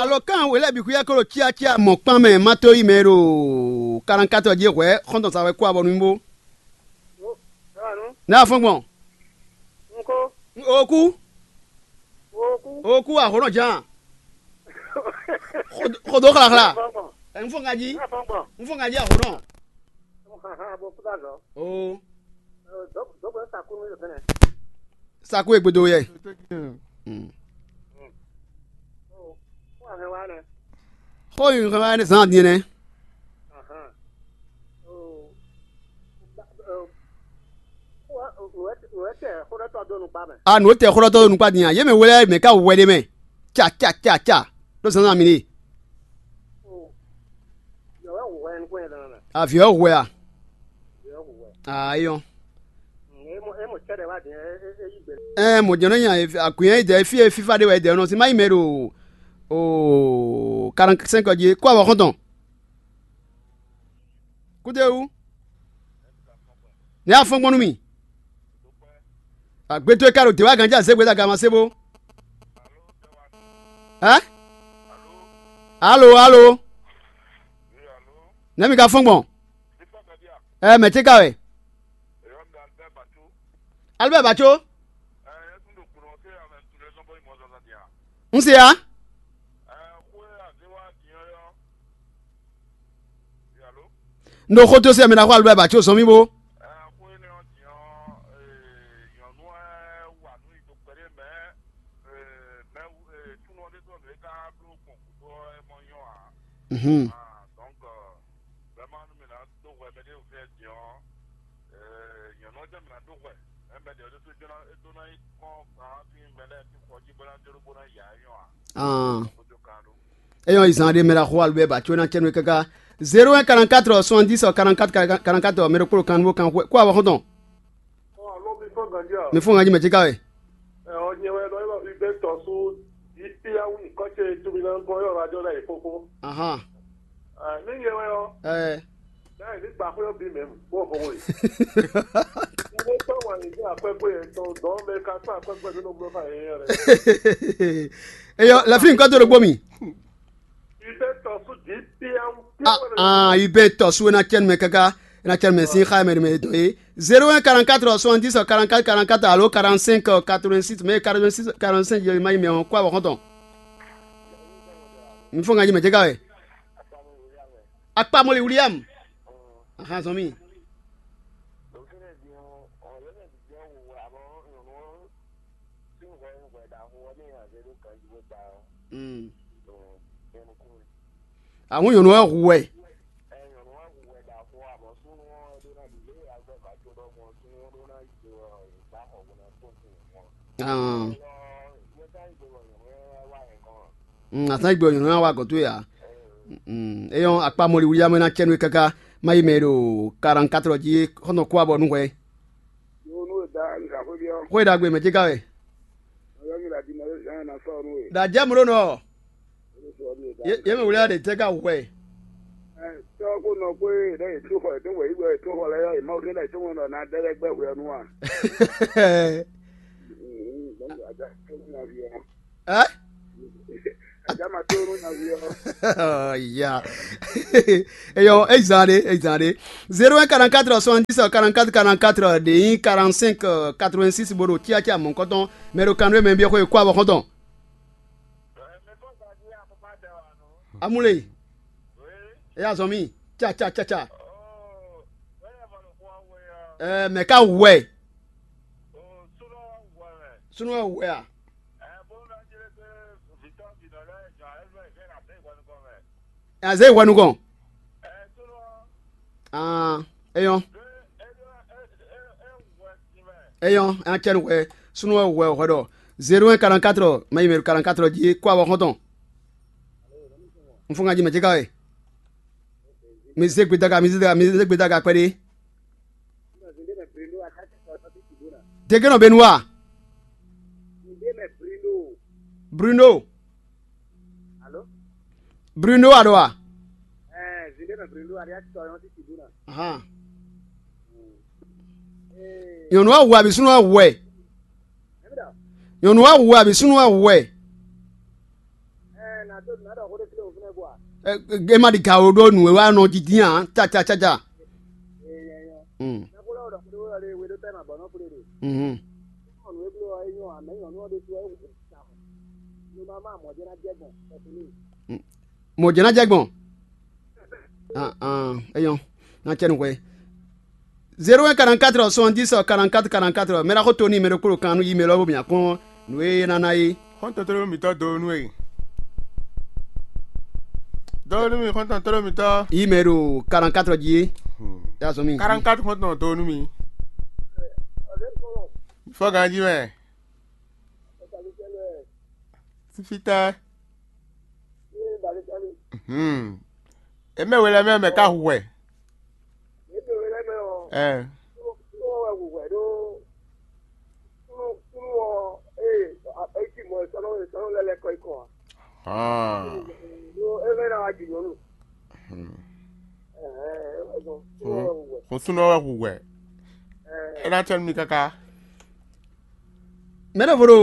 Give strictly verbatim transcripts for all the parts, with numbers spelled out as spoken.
Alo kan wělɛ́bǐxwíyɛ́ ko ɖo cyácyá mɔ̌kpán mɛ má tó yí mɛ ɖo kalankátɔ jí hwɛ̌ xɔ́ntɔn sa wɛ kú abɔ nú mì bó. Ewanu, Nɛ́ afɔ́n gbɔn? Nko, Oku, Oku, Oku ahɔ̌nɔ ján. Xodo xlaxla. Afɔn gbɔn, Ɛ, Un fɔ ŋa jí. Afɔn gbɔn, Un fɔ ŋa jí ahɔ̌nɔ. Xaxa bo kú dá zɔ. Oo. Dɔbɔ sakunu yɛ fɛnɛ. Saku e gbedo yɛ. Mm. Xó yi hɛn wá ne zan din nɛ. A nǔ tɛ xɔlɔtɔ ɖo nukpa din a? Yě mɛ wlɛ mɛ ká wɛ ɖe mɛ. Ca ca ca ca. Ɖo zan mi ɖe. Aviɔ hwɛ a? Ayɔ. Ɛ mɔ jɛnɛ nya akwǐn e jɛ fí e fífá ɖe wɛ jɛ nɔ sin má yi mɛ ɖo o quarante-cinq jí kó awɔ xɔntɔn. Kúdéwú. Nɛ́ afɔ́n gbɔn nú mì. Agbe towe ka ɖo dě wá ganjí azégbé ɖo aga ma sé bó. Ɛ? Alo, alo. Nɛ́ mi ka fɔ́n gbɔn? Ɛ mɛ̌ ce ka wɛ? Albert Bacho. Un se ya. Un ɖo xó dó sɛ mɛ ná xó Albert Bacho zɔn mì bó. Mhm. Ah. Eyɔn izan ɖe mɛ ɖo axɔ alubɛ ba tso ná cɛnú káká. Zéro un quarante-quatre soixante-dix quarante-quatre quarante-quatre mɛ ɖo kpolo kan bó kan xwɛ kó awɔ xɔntɔn. Mi fún ŋa jí mɛ jíká wɛ. Ɔ nyɛ wɛ nɔ ylɔ Hubert tɔ́sú Ipiawu kɔ́ ce tumi ná gɔ́ ylɔ ajɔ ná yi kókó. Ahan. Ní nyɛ wɛ ɔ́, Ɛ bẹ́ẹ̀ ní gbà xwé bí mẹ́mu bó fọwọ́ yìí. Mo tọ́ wà ní akwɛ́gbé yẹn tɔn dɔn mɛ ka tún akwɛ́gbé tó nɔ bló fà yẹn yẹn rẹ. Eyɔ lɛfin nǹkan tó ló gbó mi. Ibe tɔsu di piawu Ah, piawu. Ah, i bɛ tɔ su ena cɛn mɛ kaka ena cɛn mɛ sin xa mɛ mɛ dɔ ye. Zéro un quarante-quatre soixante-dix quarante-quatre quarante-quatre alo quarante-cinq quatre-vingt-six mais quarante-six quarante-cinq yɛlɛma yi mɛ ɔn kó awɔ xɔntɔn. Mi fɔ ŋa yi mɛ jɛ ka wɛ. Akpamɔli William. Ahan zɔn mi. Mm. Àwọn nyɔ̌nu wɛ hu wɛ. Ah. Mm, a sán gbe nyɔ̌nu wa gɔ̌n towe ǎ. Mm, é nyɔ́ akpá mɔli wlí amɛ ná cɛ́ nú we káká má yi mɛ ɖo quarante-quatre jí xɔ́ntɔn kú abɔ nú hwɛ. Xwé ɖagbe mɛ ce ká wɛ. Ɖa jɛ mló nɔ. Yé mɛ wlí aɖe tɛ ká hwɛ. Tɔ́ kó nɔ kpé ɖe yě tó xɔ yě tó wɛ yí wɛ yě tó xɔ lɛ́ɛ yɔ yě má wlí ɖe yě tó ŋɔ́ nɔ ná ɖɛ lɛ́ gbɛ́ hwɛ ɔ́ nú a? Ɛ? Ajama tó nú nyaví ɔ́. Ya. Eyɔ, ezan ɖe, ezan ɖe. Zéro un quarante-quatre soixante-dix quarante-quatre quarante-quatre ɖe nyí quarante-cinq quatre-vingt-six bo ɖo tíatí amɔ̌kɔtɔn mɛ ɖo kanɖó mɛ biɔ xwe kó abɔ xɔntɔn. Amule. Eya zɔn mi. Tsa tsa tsa tsa. Ɛ mɛ ka wɛ. Sunu wɛ a? Azé hwɛ nukɔn. Ah, eyɔn. Eyɔn, an cɛ nu hwɛ. Sunu wɛ hwɛ hwɛ ɖɔ zéro un quarante-quatre, ma yi mɛ quarante-quatre jí kó awɔ xɔntɔn. N fún ŋa jí mɛ jɛ ká wɛ. Mi zé gbedaga, mi zé gbedaga, mi zé gbedaga kpɛɖé. Dégé nɔ benu wa? Bruno. Bruno a ɖo wa? Ahan. Nyɔnu wa hu abi sunu wa hu wɛ. Nyɔnu wa hu abi sunu wa hu wɛ. Ɛ, ɛ, é má ɖi gawo ɖó nǔ e wá nɔ dídín ǎ, cacacaca. Mm. Mhm. Mm. Mɔ̌ jɛ́n ná jɛ gbɔn. Ah, ah, é nyɔ́. Ná cɛ nú hwɛ. Zéro un quarante-quatre soixante-dix quarante-quatre quarante-quatre. Mɛ ɖaxó Tony, mɛ ɖokpó ɖo kan nú yi mɛ lɔ bó mǐ akɔn nǔ e é ná ná é. Xɔ́ntɔn tlóló mǐtɔn dó nú e. Dó nú mì xɔ́ntɔn tlóló mǐtɔn. Yi mɛ ɖo quarante-quatre jí é. Hmm. Yá zɔn mì. Quarante-quatre xɔ́ntɔn dó nú mì. Fɔ ganjí mɛ. Fífítɛ́. Hmm. Èmɛ we lɛ́ɛ mɛ mɛ ka hu hwɛ. Ɛ. Hàn. Hmm. Xɔsúnɔ wɛ hu hwɛ. É ná tɛ́ nú mi káká. Mɛ ɖěvo ɖo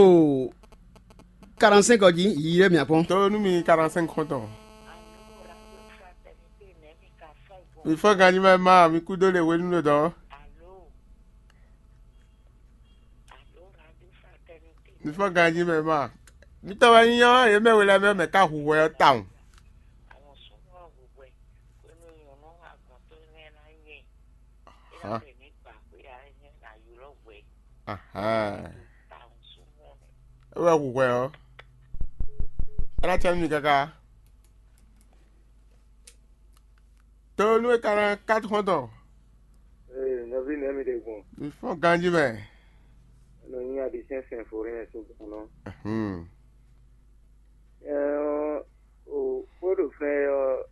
quarante-cinq ɔ́ jí, yiyi ɖé mǐ kpɔ́n. Tó nú mi quarante-cinq xɔ́ntɔn. Mi fɔ́n ganjí mɛ ma, mi kúdó ɖe hwenu ɖo dɔ̌n. Mi fɔ́n ganjí mɛ ma. Mi tɔ́ wɛ nyí ɔ́, yě mɛ we lɛ́ɛ mɛ mɛ ka hu hwɛ ɔ́ tawun. Hǎn. Ahán. É wɛ hu hwɛ ɔ́. É ná cɛ nú mi káká. Tlóló nú we quarante-quatre xɔ́ntɔn. Ee, nɔví nɛ́ mi ɖe gbɔn? Mi fɔ́n ganjí mɛ. Nɔ nyi aɖisɛn sɛn fo ɖé nɛ sín gbɔn nɔ. Hmm. Ɛɛ, o, xó ɖo fɛn ɔ́,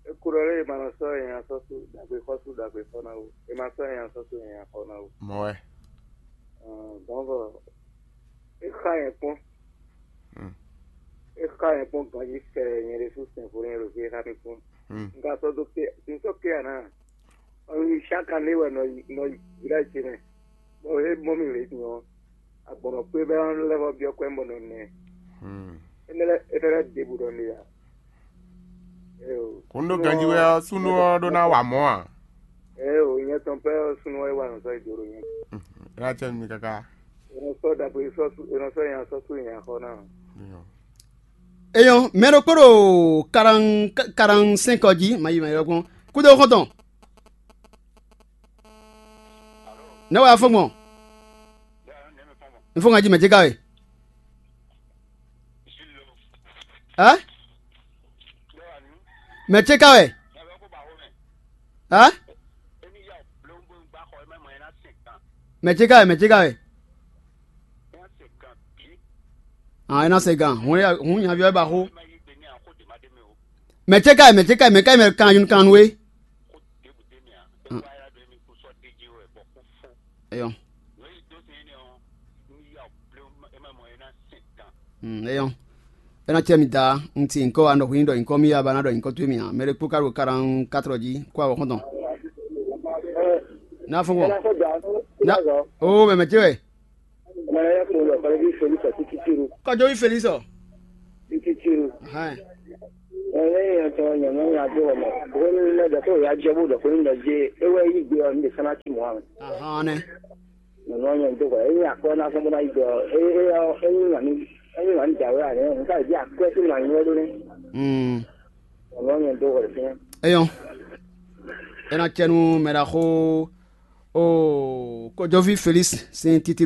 é kú ɖɔ lé, è ma nɔ sɔ́ nya sɔ́ sú ɖagbe xɔ sú ɖagbe xɔ ná ó. È ma sɔ́ nya sɔ́ sú nya xɔ ná ó. Mɔ̌ wɛ. Ɛɛ, dɔ̌nkɔ, é xa nyɛ kpɔ́n. Hmm. É xa nyɛ kpɔ́n ganjí fɛ nyɛ ɖésú sɛnxo nyɛ ɖo fí é xa mì kpɔ́n. Hmm. Un ka sɔ́ dó ké, un sɔ́ ké ǎ ná. Ɔ́, chaque année wɛ nɔ yi nɔ yi village ce mɛ. Bɔ é mɔ mì lě din ɔ́, agbɔ̌nɔ kpé bɛ́ lɛ́ vɔ byɔ́ kwɛ́ bɔ nɔ nɛ. Hmm. Énɛ́ lɛ́ɛ énɛ́ lɛ́ɛ ɖěbǔ ɖɔ n'i ǎ. Kún ɖó ganjí wɛ ɔ́, súnnu ɔ́ ɖó ná wa mɔ̌ a? Ɛ o, nyɛ tɔn pɛ́ ɔ́, súnnu ɔ́ é wa nǔ sɔ́ yi do ɖo nyɛ. É ná cɛ nú mi káká. È nɔ sɔ́ ɖagbe sɔ́ sú, è nɔ sɔ́ nya sɔ́ sú nya xɔ ná. Eyɔn, mɛ ɖokpó ɖo quarante-cinq ɔ́ jí, ma yi ma yi ɔ́ gbɔn. Kúdó xɔ́ntɔn. Nɛ̌ wɛ a fɔ́n gbɔn? Un fɔ́n ganjí mɛ ce ka wɛ? Ɛ? Mɛ ce ka wɛ? Ɛ? Mɛ ce ka wɛ, mɛ ce ka wɛ? Ɔn, é ná se gán. Hun ya- hun nyaví ɔ́ ba xó. Mɛ ce ka wɛ, mɛ ce ka wɛ, mɛ ka wɛ mɛ kan kan nú we? Eyɔn. Hmm, eyɔn. É ná cɛ mi da, un ti nyǐkɔ wa nɔ hu nyí ɖɔ nyǐkɔ mì ya ba ná ɖɔ nyǐkɔ towe mì ǎ. Mɛ ɖé kpó ka ɖo quarante-quatre jí kó awɔ xɔ́ntɔn. Ná fɔ́n gbɔn. Ná o mɛ mɛ ce wɛ. Mɛ lɛ́ɛ kpo ɖɔ kɔlɛ́ví Felísi ɔ títí ru. Kɔjɔví Felísi ɔ. Títí ru. Hɛn. Ɛlɛ yẹn tɔ nyɔmɔ nya do wɔmɔ. Bóni lɛ dɔ kó ya jɛ bó dɔ kó ní dɔ jɛ. Ewɛ yí gbé ɔ ní de sáná tí mɔ àwọn. Ahán nɛ. Nyɔmɔ nyɛ do kɔ. Eyi akɔ na fún bó na yí gbé ɔ. Eyi ɔ eyi wà ní eyi wà ní dàwé àná. Nka ìdí akɔ tí ma nyɔ ló ní. Hmm. Nyɔmɔ nyɛ do kɔ lè fún. Eyɔn. Ena cɛnu mɛ ɖaxó. O kɔjɔví Felísi sín títí.